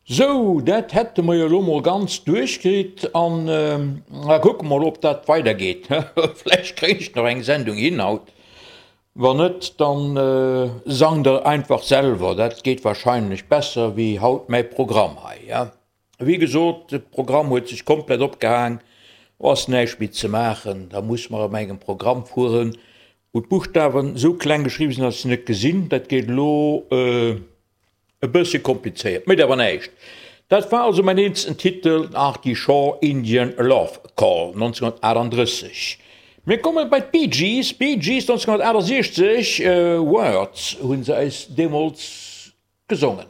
Sou, dat hätte mer jo elo mol ganz duerchkritt an da kucke mer mol, ob dat weidergeet. Vläicht kréien ech nach eng Sendung hin haut. Wann net, dann sangt der einfach selwer, dat geet wahrscheinlech besser wéi haut mäi Programm hei. Wéi gesot, de Programm huet sech komplett opgehaang, ass näischt méi ze maachen, da muss mer op engem Programm fueren, wou d'Buschtawen esou kleng geschriwwen sinn, dass ech se net gesinn. Dat geet elo. E bëssche komplizéiert, mécht awer näischt. Dat war also mäin eelsten Titel, Artie Shaw, Indian Love Call, 1938. Mir komme bei d'Bee Gees, Bee Gees 1968, Words hu se eis deemools gesongen.